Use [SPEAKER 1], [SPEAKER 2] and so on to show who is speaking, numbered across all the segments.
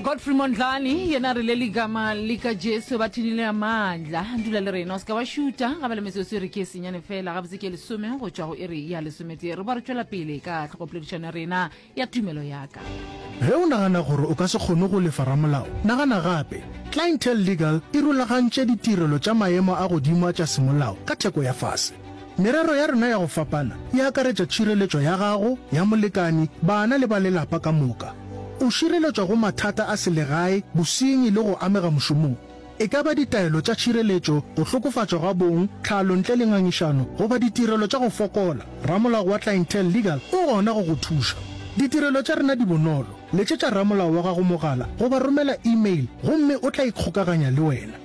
[SPEAKER 1] Godfrey Mondlane yena re le ligama lika Jesu ba thinile amandla. Dula le rena o se ka wa šuta ga ba le metsotso e re ke senyane fela gabotse ke lesome go tšwa go iri ya lesometee. Re ba re tšwela pele ka tlhogopoledišano ya rena ya tumelo ya ka.
[SPEAKER 2] Ge o nagana gore o ka se kgone go lefa ramolao, nagana gape. Clientele Legal e rulagantše ditirelo tša maemo a godimo a tša semolao ka theko ya fase. Merero ya rena ya go fapana e akaretša tšhireletšo ya gago, ya molekani, bana le ba lelapa ka moka. O šireletšwa go mathata a selegae, bosenyi le go amega mošomong. E ka ba ditaelo tša tšhireletšo, go hlokofatšwa ga bong, tlhalo ntle le ngangišano, goba ditirelo tša go fokola, ramolao wa Clientele Legal o gona go go thuša. Ditirelo tša rena di bonolo, letšetša ramolao wa gago mogala goba romela e-mail gomme o tla ikgokaganya le wena.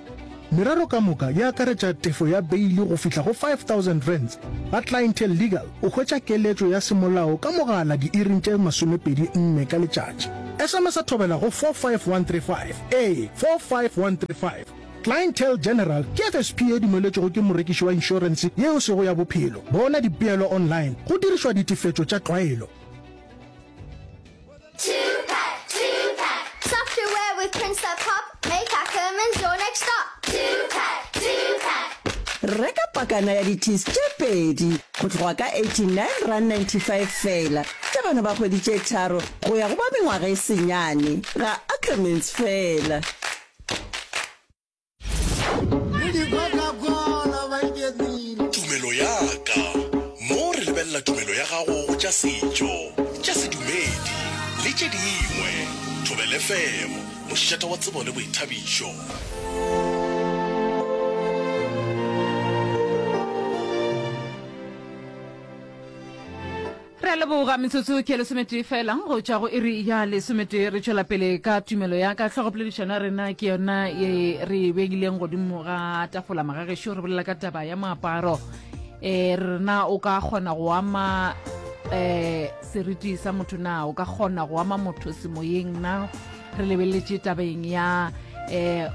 [SPEAKER 2] Merero ka moka e akaretša tefo ya beili go fihla go R5000. Ga Clientele Legal o hwetša keletšo ya semolao ka mogala diiring tše 24 ka letšatši. SMS-a thobela go 45135. Ee, 45135. Clientele General ke FSP ye dumeletšwego ke morekiši wa inšorense ye e sego ya bophelo. Bona dipeelo online go dirišwa ditefetšo tša tlwaelo.
[SPEAKER 3] Reka pakana ya di-teas tše pedi go tloga ka R89.95 feela tša bana ba kgwedi tše tharo go ya go ba mengwaga e senyane ga Ackermans feela.
[SPEAKER 4] Tumelo ya ka. Mo re lebelela tumelo ya gago go tša setšo, tša sedumedi le tše dingwe. Thobela FM, mošate wa tsebo le boithabišo.
[SPEAKER 1] Re a leboga metsotso ke lesometee fela go tšwa go iri ya lesometee. Re tšwela pele ka tumelo ya ka. Hlogopoledišano ya rena ke yona ye re e beileng godimo ga tafola magagešo. Re bolela ka taba ya moaparo. E rena o ka kgona go ama um seriti sa motho na? O ka kgona go ama motho semoyeng na? Re lebeletše tabeng ya um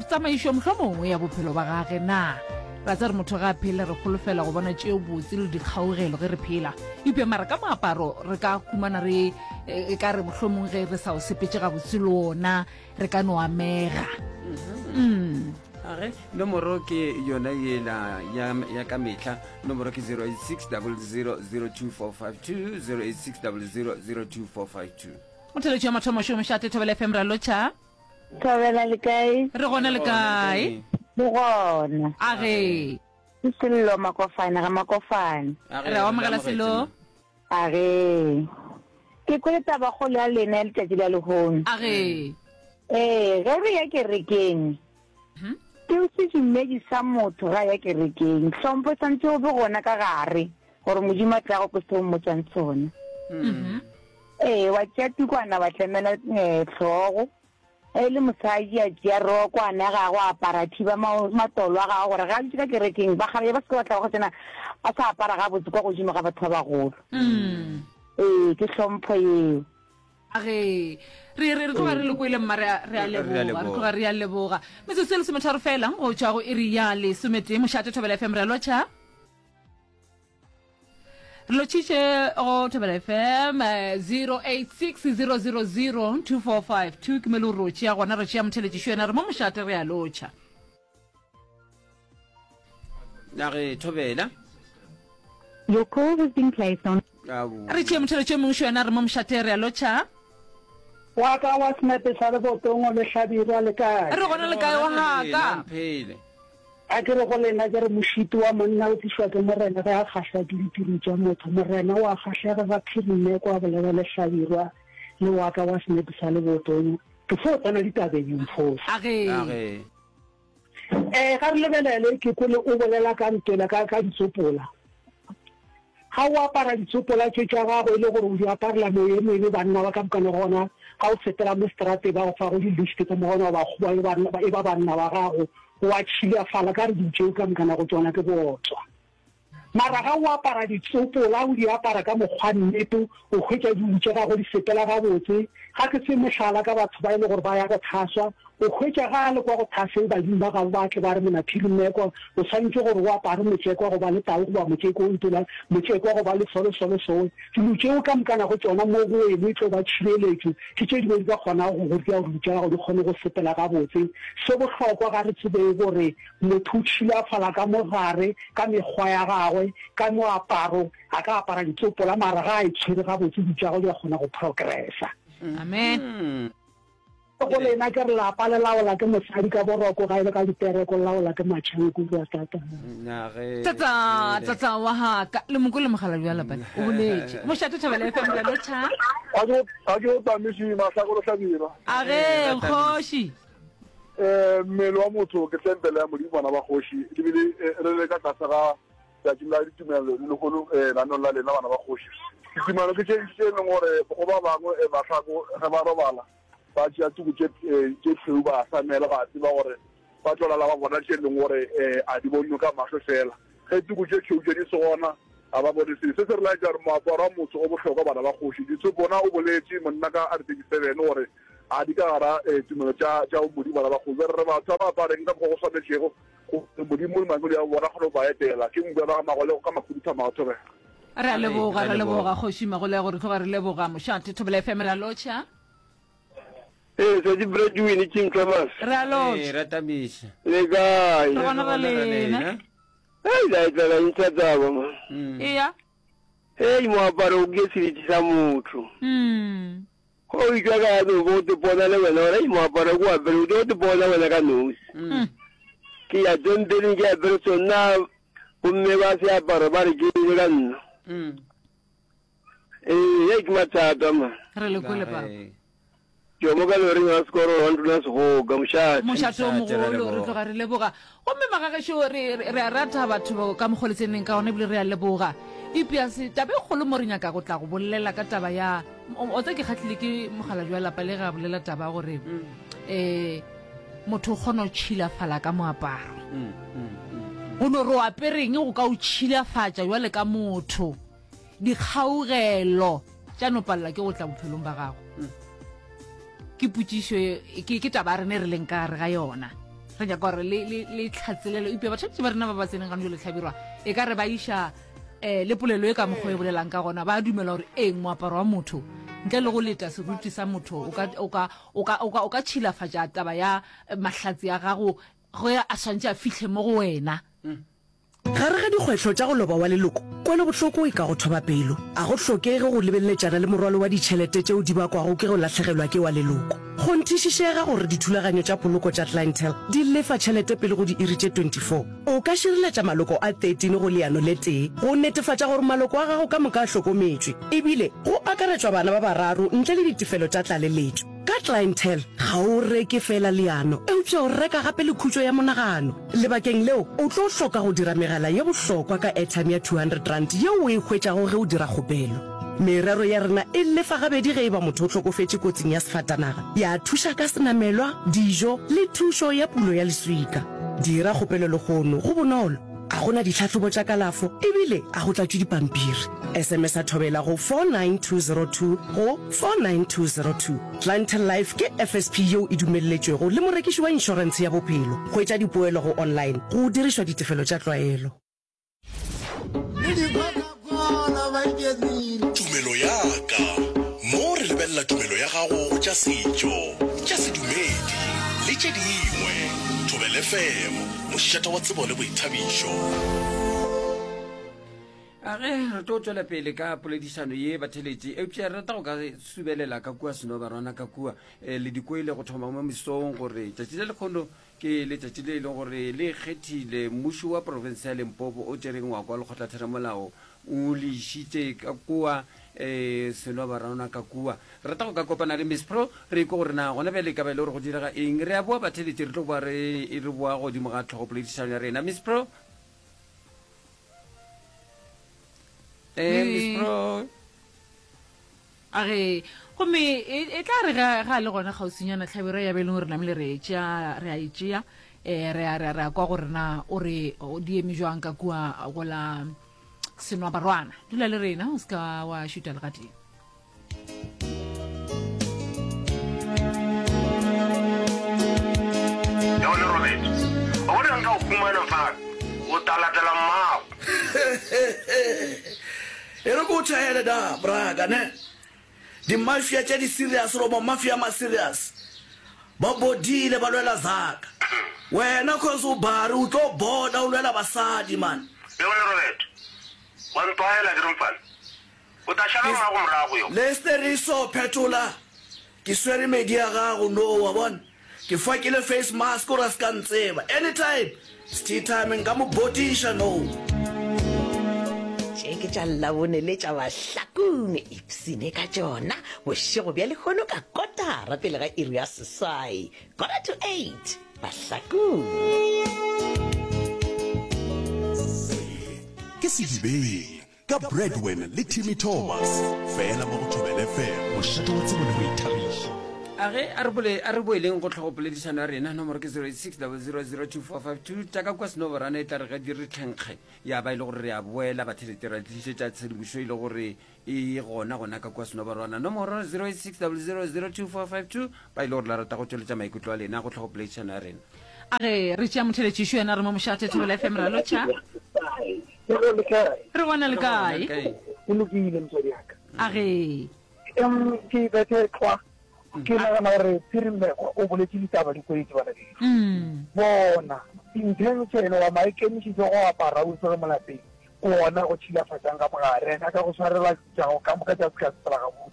[SPEAKER 1] tsamaišo mohlomongwe ya bophelo ba gage na? Ra tseba re motho ga a phele re holofela go bona tšeo botse le dikgaugelo ge re phela. Eupša mara ka moaparo re ka humana re e ka re mohlomong ge re sa o sepetše gabotse le ona re ka no amega. Mm.
[SPEAKER 5] Age, nomoro ke yona yela ya, ya ka mehla. Nomoro ke 086 00 02452, 086 00 02452.
[SPEAKER 1] Motheletši wa mathomo šo mošate Thobela FM ra lotšha.
[SPEAKER 6] Thobela le kae?
[SPEAKER 1] Re gona le kae?
[SPEAKER 6] Re gona.
[SPEAKER 1] A ge.
[SPEAKER 6] Ke Sello Makofane ga Makofane.
[SPEAKER 1] Re a amogela Sello.
[SPEAKER 6] A ge. Ke kwele tabakgolo ya lena ya letšatši la lehono.
[SPEAKER 1] A ge.
[SPEAKER 6] Ee, ge re ya kerekeng, ke sedumedi sa motho ge a ya kerekeng. Hlompho e swanetše go be gona ka gare gore Modimo a tle a go kwe seo o mmotšang sona. Ee, wa tšea tukwana wa tlemela hlogo. Ge e le mosadi a tšea rokwana ya gagwe a apara a thiba matolo a gagwe gore ge a dutše ka kerekeng bakgalabje ba se ke ba tla ba go tsena a sa apara gabotse kwa godimo ga batho ba bagolo. Ee, ke hlompho yeo.
[SPEAKER 1] Ge re re re tloga re le kwele mma re a re a leboga re tloga re a leboga. Metsotso e lesometharo fela go tšwa go iri ya lesometee mošate Thobela FM re a lotšha. Re lotšhitše go Thobela FM 0860002452 ke mo e le gore o tšea gona re tšea motheletšišo yena re mo mošate re a lotšha.
[SPEAKER 5] Na re Thobela.
[SPEAKER 7] Your call has been placed on.
[SPEAKER 1] Re tšee motheletši yo mongwe šo yena re mo mošate re a lotšha.
[SPEAKER 8] Wa ka wa senepe sa lebotongo le Hlabirwa le kae?
[SPEAKER 1] Re gona le kae wa ga ka?
[SPEAKER 8] A ke re go lena, ke re, Mošito wa monna o tlišwa ke Morena ge a kgahlwa ke ditiro tša motho. Morena o a kgahlega ga Phirimeko a bolela le Hlabirwa le wa ka wa senepe sa lebotong. Ke fo tsena ditabeng, Mfosa.
[SPEAKER 1] Age.
[SPEAKER 5] Age.
[SPEAKER 8] Ee, ga re lebelele, ke kwele o bolela ka ntwela ka, ka ditsopola. Ga o apara ditsopola tše tša gago e le gore o di aparela meoya e mebe, banna ba ka mokana gona ga o sepela mo seterateng ba go fago di-lift ka mo gona ba kgoba e ba banna ba gago, o a tšhilafala ka re dilo tšeo ka mokana go tšona ke bootswa. Mara ga o apara ditsopola o di apara ka mokgwa nnete, o hwetša dilo tša gago di sepela gabotse. Ga ke fe mohlala ka batho ba e le gore ba ya go thaswa, o hwetša ga a le kwa go thaseng badimo ba gabo ba tle ba re Monaphiri Mmekwa o swanetše gore o apare motšekwa goba le tau goba motšeko o ntola motšekwa goba le solo solo sowe. Dilo tšeo ka mokana go tšona mo go weno e tlo ba tšhireletšo, ke tše dingwe di ka kgonago go go dira gore dilo tša gago di kgone go sepela gabotse. Se bohlokwa ga re tsebeng gore motho o tšhilafala ka mo gare ka mekgwa ya gagwe, ka moaparo, A ka apara ditsopola mara ga a itshwere gabotse dilo tša gagwe di a kgona go progressa.
[SPEAKER 1] Amen.
[SPEAKER 8] Go lena ke re lapa le laola ke mosadi ka boroko ga e le ka dipereko le laola ke matšhanku kua tata.
[SPEAKER 1] Tata tata wa haka le moko le mogala bja lapa o boletše mošate Thobela FM ra lotšha.
[SPEAKER 9] A ke go tamiši mahlakolo hlabirwa.
[SPEAKER 1] A ge kgoši.
[SPEAKER 9] Eh mmele wa motho ke tempele ya Modimo bana ba kgoši ebile re le ka tlase ga Tšatšing la ditumelo le lehono lenaneong la lena bana ba kgoši. Ditumelo ke tše ntši tše e leng gore go ba bangwe mahlako ge ba robala ba tšea tuku tše tše tšhweu ba hlamela ba tseba gore ba tlo lala ba bona tše e leng gore a di bonwe ka mahlo fela. Ge tuku tše tšhweu tše di se gona ga ba bone selo. Se se re laetša gore moaparo wa motho o bohlokwa bana ba kgoši. Ditshopona o boletše monna ka R37 gore a di ka gara tumelo tša tša Modimo bana ba kgoši. Bjale re batho ba ba apareng ka mokgwa go swanetšego Gore Modimo le mangwele a bona kgone go ba etela. Ke nku ya ba ga Magolego ka Makhuduthamaga Thobela.
[SPEAKER 1] Re a leboga, re leboga Kgoši Magolego, re tloga re leboga Mošate Thobela FM, re a lotšha.
[SPEAKER 10] Ee, Sesi Bradwin, King Thomas.
[SPEAKER 1] Re a lotšha.
[SPEAKER 5] Ee, ra tamiša.
[SPEAKER 10] Le kae?
[SPEAKER 1] Re gona ra lena.
[SPEAKER 10] Hei, la etla la ntsha taba ma.
[SPEAKER 1] Eya.
[SPEAKER 10] Hei, moaparo o ke seriti sa motho.
[SPEAKER 1] Mm.
[SPEAKER 10] Go o itšwa ka no bo te pona le wena gore moaparo ko apere o tlo te pona wena ka nosi.
[SPEAKER 1] Mm.
[SPEAKER 10] Ke ya tempeleng ke apere sona gomme ba se aparo ba re ke ile ka nna.
[SPEAKER 5] Mm.
[SPEAKER 10] Ee, ye ke mathata ma.
[SPEAKER 1] Re le kwele papa.
[SPEAKER 10] Ke mo ka loring ya sekoro wa ntuna segoka mošate.
[SPEAKER 1] Mošate o
[SPEAKER 5] Mošate, re a
[SPEAKER 1] mogolo re
[SPEAKER 5] leboga.
[SPEAKER 1] tloga re leboga. Gomme magagešo re re a rata batho ka mokgwa le tseneng ka gona ebile re a leboga. Eupša se taba e kgolo mo re nyaka go tla go bolela ka taba ya o tsa ke kgatlhile ke mokgalabje wa lapa le ge a bolela taba ya gore um motho o kgona go tšhilafala ka moaparo go no re o apereng go ka o tšhilafatša jwale ka motho dikgaugelo tša no palela ke go tla bophelong ba gago ke potšišo ke ke taba ya rena e re leng ka gare ga yona re nyaka gore le le le tlhatselelo eupša batho ba rena ba ba tseneng gane jalo tlhabirwa e ka re ba iša um le polelo e ka mokgwa e bolelang ka gona ba dumela gore eng moaparo wa motho ntle le go leta seruti sa motho o ka tšhilafatša taba ya eh, mahlatsi a gago ge a swantše a fihle mo go wena
[SPEAKER 11] Gare ga dikgwetlho tša go loba wa leloko, kwelobohloko e ka go thoba pelo. A go hlokege go lebeleletšana le morwalo wa ditšhelete tšeo di bakwago ke go lahlegelwa ke wa leloko. Kgonthišišega gore dithulaganyo tša poloko tša Clientele di lefa tšhelete pele go diiri tše 24. O ka šireletša maloko a 13 go leano le tee go netefatša gore maloko a gago ka moka a hlokometšwe, ebile go akaretšwa bana ba bararo ntle le ditefelo tša tlaleletšo. Ka Clientele, ga o reke feela leano, eupša o reka gape le khutšo ya monagano. Lebakeng leo, o tlo hloka go dira megala ye bohlokwa ka airtime ya R200 yeo o e hwetšago ge o dira kgopelo. Merero ya rena e lefa gabedi ge e ba motho o hlokofetše kotsing ya sefatanaga, ya thuša ka senamelwa, dijo le thušo ya pulo ya leswika. Dira kgopelo lehono, go bonolo, ga go na ditlhahlobo tša kalafo ebile ga go tlatšwe dipampiri. SMS-a Thobela go 49202 go 49202. Clientele Life ke FSP yeo e dumelletšwego le morekiši wa inšorentshe ya bophelo. Hwetša dipoelo go online go dirišwa ditefelo tša tlwaelo.
[SPEAKER 4] Tumelo ya ka. Mo re lebelela tumelo ya gago go tša setšo, tša sedumedi le tše dingwe. Thobela FM, mošate wa tsebo le boithabišo.
[SPEAKER 5] A ge re tlo tšwela pele ka poledišano ye batheletši, eupša re rata go ka subelela ka kua Senobarwana ka kua eh, le dikwele go thoma mo mesong gore tšatši le lekgono Ke letšatši le e leng gore le ikgethile. Mmušo wa profense ya Limpopo o tšere ngwako wa lekgotlatheramolao o le išitše ka kua um Senwabarwana ka kua. Re rata go ka kopana le Miss Pro re ikwe gore na gona bjale e ka ba e le gore go direga eng. Re a boa batheeletši re tlo boa re re boa godimo ga tlhogopoledišano ya rena. Miss Pro. Eh, Miss Pro.
[SPEAKER 1] A re, Gomme e, e tla re ge, ge a le gona kgauswinyana, hlabirwa ya be e leng gore namile re e tšea, re a e tšea, eh, re a, re a, re a kwa gore na o re o di eme jwang ka kua go la Senwabarwana. Dula le rena, o se ka wa šuta le gatee.
[SPEAKER 12] nka o humana mfana, o ta latela mmago.
[SPEAKER 13] E re ke o tšhaele da, braka, ne? Di-mafia tša di-serious goba mafia a ma-serious ba bodile ba lwela zaka. Wena cause o bare o tlo boda o lwela basadi man.
[SPEAKER 12] Leone Robert, wa ntwaela ke re mfana. O tla šala mmago morago yo.
[SPEAKER 13] Lester e so phetola ke swere medi ya gago no wa bona ke fakile face mask gore a se ka ntseba anytime sti time nka mo botiša no.
[SPEAKER 14] Tše ke tša Labone le tša Bahlakong. Ipshine ka tšona bošego bja lehono ka kotara pele ga iri ya seswai, quarter to eight, Bahlakong.
[SPEAKER 4] Se ke Sedibeng Ka Bradwin le Timmy Thomas, fela mo go Thobela FM, mošate wa tsebo le boithabišo.
[SPEAKER 5] A ge a re bole a re boeleng go tlhogopoledišano ya rena nomoro ke 0860002452 tša ka kua senoborana e tla re ge di re tlhenkge ya ba e le gore re a boela bathelete ra tlišetša tshedimošo e le gore e gona gona ka kua senoborwana nomoro 0860002452 ba e le gore la rata go tšweletša maikutlo a lena go tlhogopoledišano ya rena
[SPEAKER 1] A ge re tšea motheletšišo yena re mo mošate Thobela FM ra lotšha. Re gona le kae?
[SPEAKER 8] Ke lokile motswadi ya ka.
[SPEAKER 1] A ge.
[SPEAKER 8] Em ke bethe tlwa. Ke nagana gore Phirimekwa o boletše ditaba di kwetse bana beso. Bona intention wa maikemišetšo go apara o tsere mo lapeng ke ona go tšhilafatšang ka mogare ena ka go swarela tša go ka moka tša se ka sepela gabotse.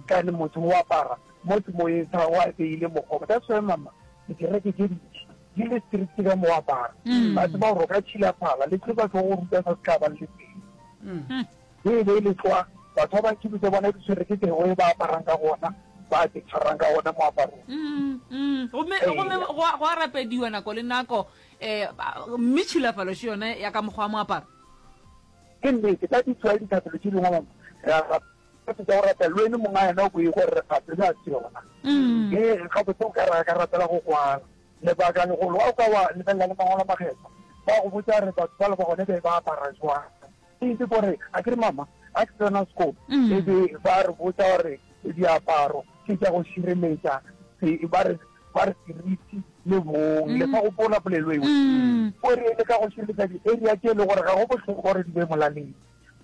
[SPEAKER 8] Kane motho o apara mo semoyeng sa gagwe a beile mokgwa. That's why mama dikereke tše dintši di le strict ka moaparo. Ba tseba gore o ka tšhilafala le tlo ba tlo go ruta sa se ka ba le teng. Ge e be e le tlwa, batho ba bantši tša bona di tshwere ke the way ba aparang ka gona, ba te tshwarang ka gona moaparong.
[SPEAKER 1] Gomme gomme go a go a rapediwa nako le nako um mme tšhilafalo še yone ya ka mokgwa wa moaparo.
[SPEAKER 8] Ke nnete, ka di tshwae dithapelo tše dingwe mama, re a rapela tša go rapela le wene monga yena o ko e gore re gapele a se yona. Ee, gabotse o ka re a ka rapela go kwala. Lebaka legolo, ga o ka wa lebelela le Mangwalo a Makgethwa, ba go botša gore batho bale ba gone be ba apara jwang. Ke gore, a ke re mama, a ke tsena sekolo, e be ba re botša gore diaparo ke tša go šireletša, ba re, ba re seriti le bong. Le sa gopola polelo eo? O re e le ka go šireletša di-area tše e le gore ga go bohlokwa gore di be molaleng.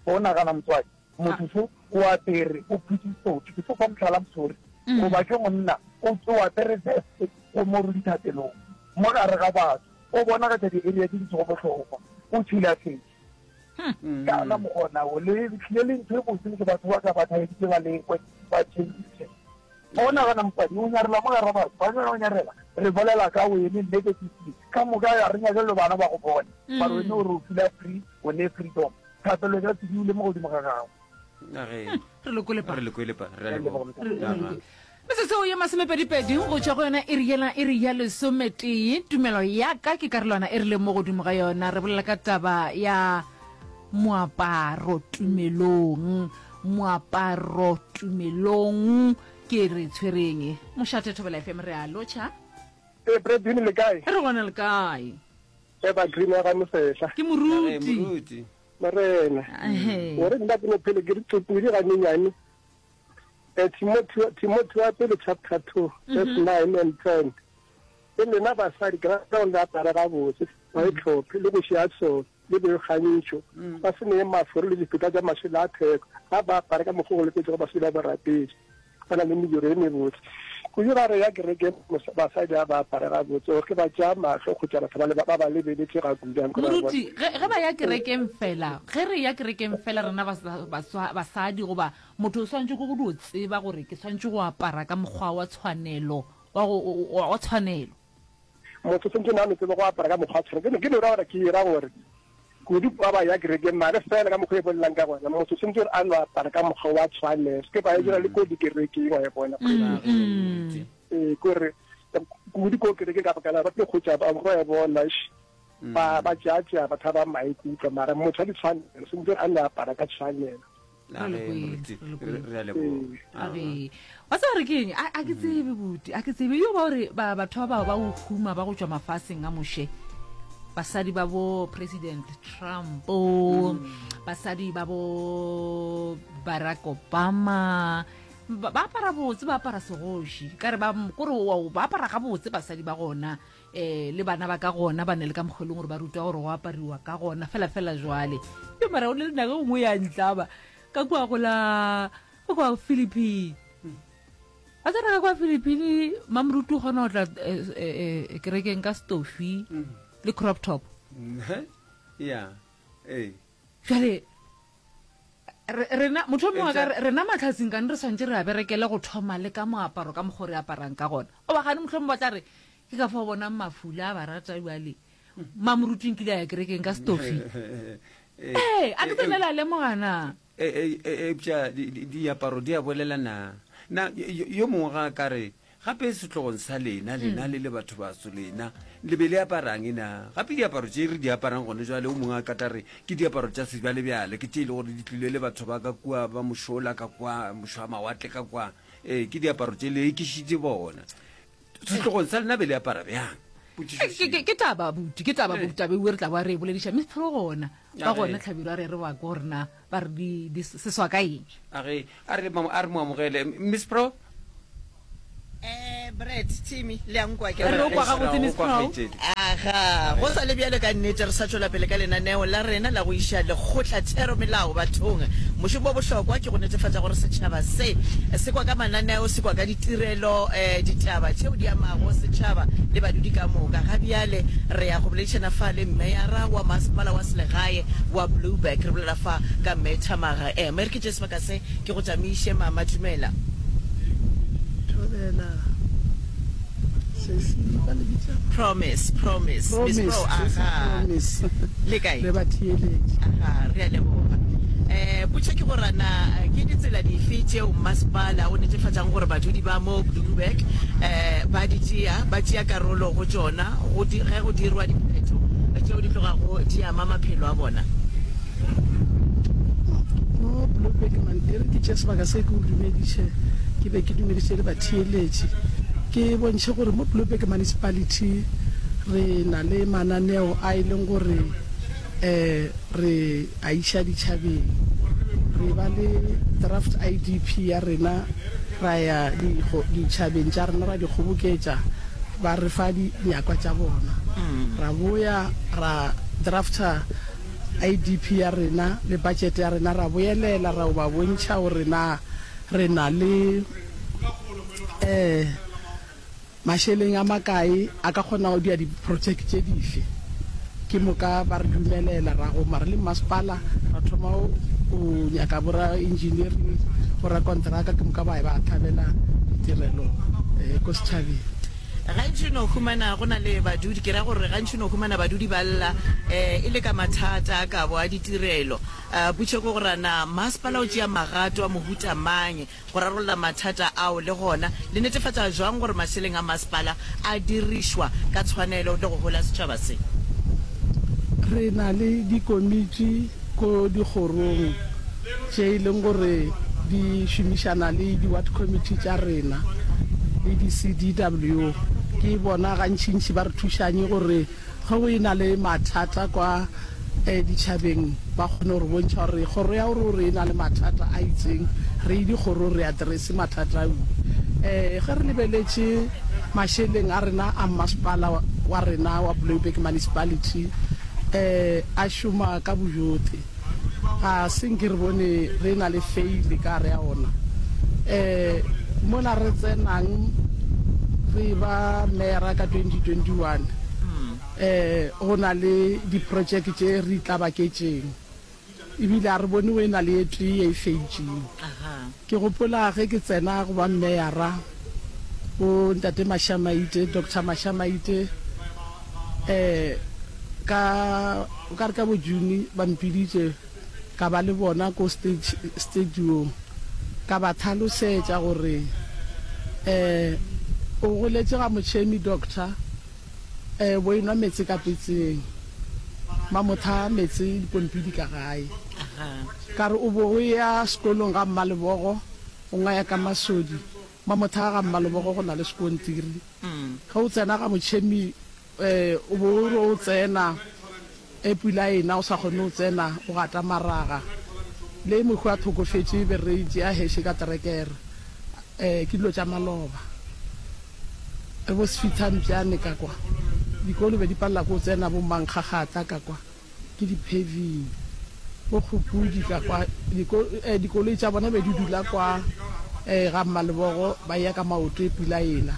[SPEAKER 8] O nagana motswadi? Motho šo o apere, o phutše sotho. Ke tlo fa mohlala mosori. Goba ke monna, o o apere vest o mo re dithapelong, mo gare ga batho, o bonagatša di-area tše di sego bohlokwa, o tšhilafetše. Ka ona mokgona wo, le tlile le ntho e botse ke batho ba ka ba thabeditše ba lekwe, ba change. O nagana mosadi o nyarela mo gare ga batho, ba nyaka go nyarela, re bolela ka wene negatively, ka moka ga re nyake le bana ba go bone, mara wene o re o feel-a free, o ne freedom. Thapelo e ka se dule mo godimo ga gago.
[SPEAKER 1] Re le kwele pa.
[SPEAKER 5] Re le kwele pa. Re a leboga.
[SPEAKER 1] Metsotso ye masomepedipedi go tšwa go yona iri yela iri ya lesometee. Tumelo ya ka ke karolwana e re leng mo godimo ga yona. Re bolela ka taba ya moaparo tumelong. Moaparo tumelong ke re tshwereng. Mošate Thobela FM re a lotšha.
[SPEAKER 15] Ee, Bradwin le kae?
[SPEAKER 1] Re gona le kae?
[SPEAKER 15] Eba Green wa ga Mosehla.
[SPEAKER 1] Ke moruti.
[SPEAKER 5] Moruti.
[SPEAKER 15] Morena. Gore nna ke no phele ke re tsopodi ga nyenyane. Eh, Timothy, Timothy wa pele chapter 2, verse 9 and 10. Le lena basadi ke rata gore le apare gabotse, ba itlhophe le go šia sone le boikgantšho, ba se nee maforo le difeta tša mašela a theko, a ba apare ka mokgwa o go loketšego basadi ba borapedi. Ba na le mediro e mebotse. Kudu ga re ya kerekeng, basadi ga ba apare gabotse, gore ke ba tšea mahlo kgotsa batho ba le ba ba lebeletše ga kudu.
[SPEAKER 1] Moruti, ge, ge ba ya kerekeng fela, ge re ya kerekeng fela rena basadi goba motho o swanetše ke go dio tseba gore ke swanetše go apara ka mokgwa wa tshwanelo, wa go, wa tshwanelo.
[SPEAKER 15] Motho o swanetše na no tsebe go apara ka mokgwa wa tshwanelo. Ke no ra gore ke ra gore kudu ba ba ya kerekeng mare fela ka mokgwa e bolelang ka gona motho o swanetše gore a no apara ka mokgwa wa tshwanelo. Se ke ba e dira le ko dikerekeng wa e bona. Ee, kore kudu ko kerekeng ka baka la ba tlo kgotsa ba go e bona ba ba tšea batho ba maikutlo mara motho wa ditshwanelo swanetše gore a no apara ka tshwanelo.
[SPEAKER 5] Re a leboga.
[SPEAKER 1] Wa tseba gore ke eng? A ke tsebe buti, a ke tsebe. Yo ba gore ba batho ba ba go huma ba go tšwa mafaseng a moše. Basadi ba bo President Trump, basadi ba bo Barack Obama. Ba ba apara botse, ba apara segoši. Ka re ba, kore ba apara gabotse basadi ba gona, um le bana ba ka gona ba ne le ka mokgwa e leng gore ba rutwa gore go apariwa ka gona fela fela jwale. Yo mara o le nako e nngwe ya ntlaba ka kua go la ka kua Philippine. A tsena ka kua Philippine, mamoruti o kgona go tla eh, eh, eh, kerekeng ka stofi le crop top.
[SPEAKER 5] Ya, ee.
[SPEAKER 1] Jwale rena motho mongwe ka rena matlhatsing kane re swantse re a berekele go thoma le ka moaparo ka mokgwa re aparang ka gona o ba gane motlho mongwe ba tla re ke ka fa o bonang mafula a ba rata jale mamoruting kile a ya kerekeng ka stofi ee a ke tsene la lemogana
[SPEAKER 5] eupša diaparo di a bolela na na yo mongwe ga a ka re Gape sehlogong sa lena, lena le le batho baso, lena le be le aparang na? Gape diaparo tše re di aparang gone jwale, o mongwe a ka tla re, ke diaparo tša sebjalebjale, ke tše e le gore di tlile le batho ba ka kua ba mošola ka kwa, mošo wa mawatle ka kwa. Ee, ke diaparo tše le ekišitše bona. Sehlogong sa lena be le apara bjang? Potšišo
[SPEAKER 1] Ke, ke, ke taba buti, ke taba buti, taba ewe re tla boa re e bolediša. Miss Pro gona, ba gona Hlabirwa re re ba ko gore na ba re di, di seswa ka eng.
[SPEAKER 5] A re, a re, a re mo amogele. Miss Pro?
[SPEAKER 14] Eh, Brad, Timmy, le a nkwa ke
[SPEAKER 1] Re o kwa gabotse, Miss Pro.
[SPEAKER 14] Aga, go sa le bjalo ka nnete re sa tšwela pele ka lenaneo la rena la go iša lekgotla thero melao bathong. Mošomo o bohlokwa ke go netefatša gore setšhaba se se kwa ka mananeo, se kwa ka ditirelo, eh, ditaba tšeo di amago setšhaba le badudi ka moka. Ga bjale re ya go boledišana fa le meyara wa masepala wa selegae wa Blouberg. Re bolela fa ka Mme Thamaga. Eh, mme re ke tšee sebaka se Ke go tšamiše, mama. Dumela.
[SPEAKER 16] Thobela. Sesi, ba le bitša?
[SPEAKER 14] Promise, Promise. Miss
[SPEAKER 16] Promise,
[SPEAKER 14] Pro,
[SPEAKER 16] sesi
[SPEAKER 14] aha.
[SPEAKER 16] Promise.
[SPEAKER 14] Le kae?
[SPEAKER 16] Le batheeletši.
[SPEAKER 14] Aha, re a leboga. Eh, potšo ke gore na ke ditsela dife tšeo mmasepala o netefatšang gore badudi ba mo Blouberg eh, ba di tšea, ba tšea karolo go tšona go di, ge go dirwa diphetho tšeo di tlogago di ama maphelo a bona?
[SPEAKER 16] Mo Blouberg man, e re ke tšee sebaka se ke o dumediše, ke be ke dumediše le batheeletši. Ke bontšhe gore mo Blouberg Municipality re na le mananeo a e leng gore um re a iša ditšhabeng. Re ba le draft IDP ya rena, ra ya ditšhabeng tša rena ra di kgoboketša, ba re fa dinyakwa tša bona. Ra boya ra drafta IDP ya rena le budget ya rena, ra boelela ra o ba bontšha gore na re na le um mašeleng a makae a ka kgona go dia di-project tše dife. Ke moka ba re dumelela ra goma re le mmasepala ra thoma go nyaka bo ra-engineering, bo rakonteraka, ke moka ba ba thabela ditirelo um ko setšhabeng.
[SPEAKER 14] Gantši o no humana go na le badudi, ke ra gore gantši o no humana badudi ba lla e le ka mathata a kabo a ditirelo. Potšo ke gore na masepala o tšea magato a mohuta mang go rarolla mathata ao le gona le netefatša jwang gore mašeleng a masepala a dirišwa ka tshwanelo le go hola setšhaba se?
[SPEAKER 16] Re na le dikomiti ko dikgorong tše e leng gore di šomišana le di-ward committee tša rena le di-CDW. Ke bona gantšintši ba re thušang gore ge go e na le mathata kwa ditšhabeng ba kgone go re bontšha gore kgoro ya gore gore e na le mathata a itseng, re ye dikgorong re address mathata ao. Ge re lebeletše mašeleng a rena a mmasepala wa rena wa Blouberg Municipality a šoma ka bojote. Ga se nke re bone re e-na le feile ka gare ya ona. Um mola re tsenang re eba meyara ka 2021, um go na le diprojeke tše re itlabaketšeng, ebile ga re bone go e-na le e tee ye e feitšeng. Ke gopola ge ke tsena go ba meyara, bo Ntate Mashamaite, Doctor Mashamaite, um ka O ka re ka bo June ba mpiditše ka ba le bona ko stage stadiong ka ba tlhalosetša gore um o goletše ga Motšhemi doctor um bo enwa meetse ka petseng Mamotha meetse dipompi di ka gae ka re o bo o ya sekolong ga Mmalebogo o ngaya ka Masodi Mamotha ga Mmalebogo go na le sekontiri ge o tsena ga Motšhemi O be o re o tsena, e pula e na o sa kgone go tsena, o gata maraga. Le mohu a thokofetše be re tšea heše ka terekere. Um ke dilo tša maloba. Re bo Sefithampjane ka kwa, dikolo be di palela ke go tsena bo Mankgakgatla ka kwa, ke di-paving. Bo Kgopudi ka kwa, diko, eh, dikoloi tša bona be di dula kwa eh, ga Mmalebogo, ba eya ka maoto e pula ena,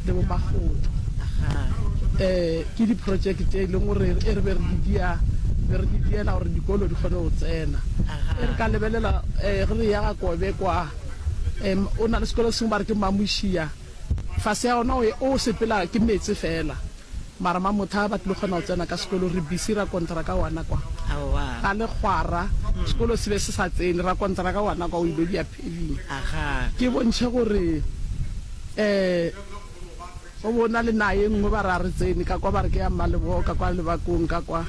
[SPEAKER 16] le bo Makgotho. Eh, ke di-project tše e leng gore e re be re di dia, be re di diela gore dikolo di kgone go tsena. E re ka lebelela eh, ge re eya ga Kobe kwa, um o na le sekolo se sengwe ba re ke Mamušia, fase ya gona o o sepela ke meetse fela, mara Mamotha ba tlilo kgona go tsena ka sekolo, re busy ra kontraka wana kwa ga lekgwara, sekolo se be se sa tsene, ra kontraka wana kwa o ilo dia paving. Ke bontšhe gore um Go bo na le naga ye nngwe ba re a re tsene ka kwa, ba re ke ya Mmalebogo ka kwa Lebakong ka kwa,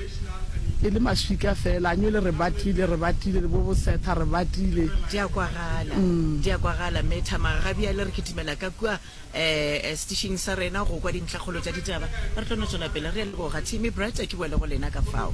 [SPEAKER 16] e le maswika fela, a nywele re batile, re batile, le bo bosetha re batile.
[SPEAKER 14] Di a kwagala, di a kwagala. Mme Thamaga, ga bjale re kitimela ka kua um setišing sa rena go kwa dintlhakgolo tša ditaba. Re tlo no tšwela pele. Re a leboga. Timmy Brett, ke boele go lena ka fao.